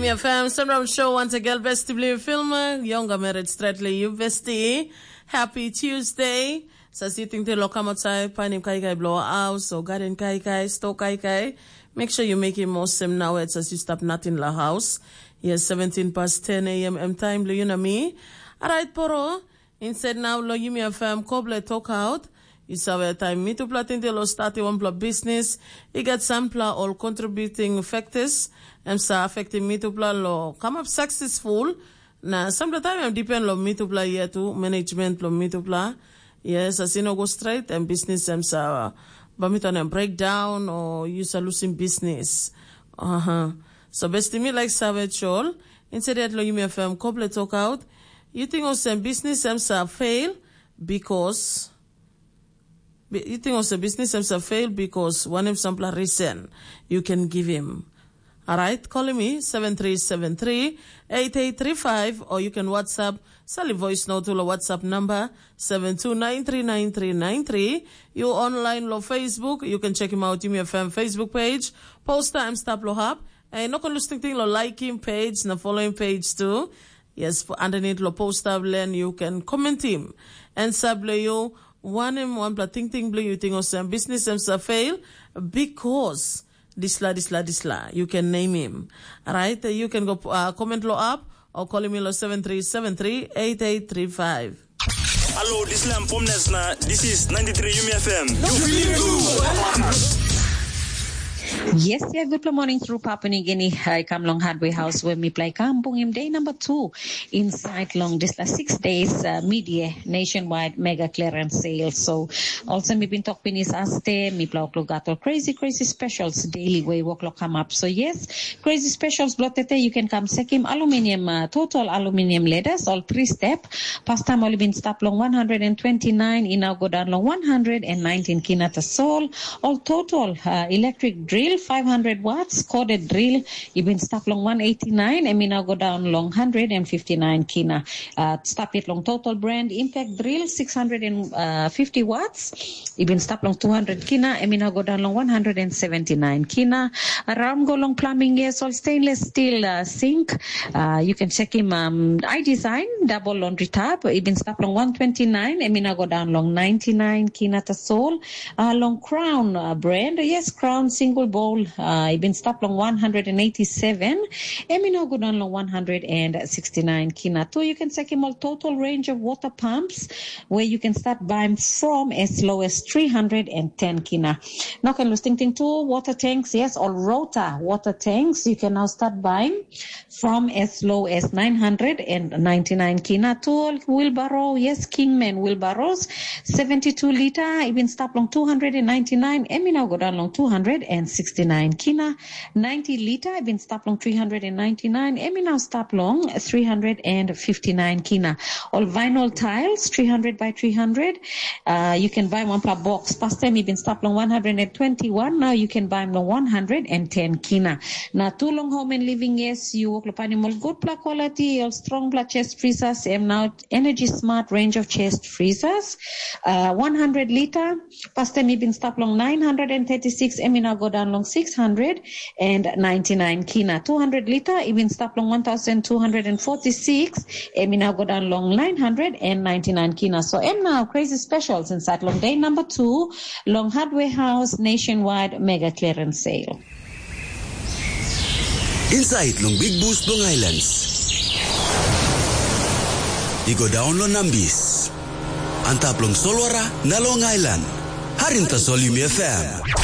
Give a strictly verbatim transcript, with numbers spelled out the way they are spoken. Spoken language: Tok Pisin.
F M Sunrise Show once again, Besti Blue Filmer, Younger Married Stratly, you Besti. Happy Tuesday. Sa sitting te lo kamot sai, painim kaikai blo house, or garden kaikai, store kaikai. Make sure you make it most same now as you stop nothing la house. Yes, seventeen past ten a m M time, lo you know me. Alright, poro. Instead now lo yumi FM koble talk out. Yu save taim mitupela tinte lo stati wanpela bisnis, i gat sampela ol contributing factors, em sa affecting mitupela lo kamap successful, na sampela taim em depend lo mitupela yet tu, management lo mitupela. Yes, as i no go straight, em bisnis em sa bamiton em breakdown o yu sa losing business. Aha. So besti mi like save chol, instead lo yumi FM koble talk out, you think olsem business em sa fail because you think olsem business em sa fail because wanem sampela reason you can give him. Alright, call me seven three seven three eight eight three five, or you can WhatsApp, sali voice note to the WhatsApp number seven two nine three nine three nine three. You online lo Facebook, you can check him out, Yumi FM Facebook page. Post time stop lo hap. And no can lose thing lo like him page, na follow him page too. Yes, for underneath lo post up, then you can comment him. And sable you, one him, one pla ting ting blue, you think olsem business em sa fail because disla, disla, disla. You can name him. Alright, you can go uh, comment lo up or call him lo seven three seven three eight eight three five. Hello, this is Lam Pomnes na this is ninety-three Yumi F M. Yes, yeah, good morning through Papua New Guinea. I come long hardware house where me play come bung him day number two inside long this uh, six days uh, media nationwide mega clearance sale. So also me been talk pinis aste, me play o'clock got all crazy, crazy specials daily way work lo come up. So yes, crazy specials blottete, you can come check him aluminium, uh, total aluminium letters, all three step. Past time only been stop long one hundred twenty-nine, in now go down long one hundred nineteen kina tasol. All total uh, electric drill, five hundred watts, corded drill, you been stop long one eighty-nine, and me now go down long one hundred fifty-nine kina. Uh, stop it long total brand impact drill, six hundred fifty watts. Ibin stap long two hundred kina, em i no go daun long one hundred seventy-nine kina. Raun go long plumbing, yes, ol stainless steel uh, sink. Uh, you can check him um, I design double laundry tub. Ibin stap long one twenty-nine, em i no go daun long ninety-nine kina tasol. Uh, long Crown uh, brand, yes, Crown single bowl. Uh, ibin stap long one hundred eighty-seven, em i no go daun long one hundred sixty-nine kina. So you can check him all total range of water pumps where you can start buying from as low as three hundred ten kina. Now can lose ting ting too, water tanks, yes, or rota water tanks. You can now start buying from as low as nine hundred ninety-nine kina to wheelbarrow, yes, Kingman wheelbarrows, seventy-two liter, even start long two hundred ninety-nine, and now go down long two hundred sixty-nine kina. Ninety liter, even start long three hundred ninety-nine, and now start long three hundred fifty-nine kina. All vinyl tiles, three hundred by three hundred. Uh, you can buy one per box. Past time, even start long one hundred twenty-one. Now you can buy them long one hundred ten kina. Now, too long home and living, yes, you work lo panim ol good pla quality, ol strong pla chest freezers, and now energy smart range of chest freezers. Uh, one hundred liter, past time, even start long nine hundred thirty-six, and now go down long six hundred ninety-nine kina. Two hundred liter, even start long one thousand two hundred forty-six, em i now go down long nine hundred ninety-nine kina. So em now crazy specials inside long day number two, long Hardware House nationwide mega clearance sale. Inside long Big Boost long Islands. I go down long Nambis. Antap long Solwara na long Island. Harim tasol Yumi F M.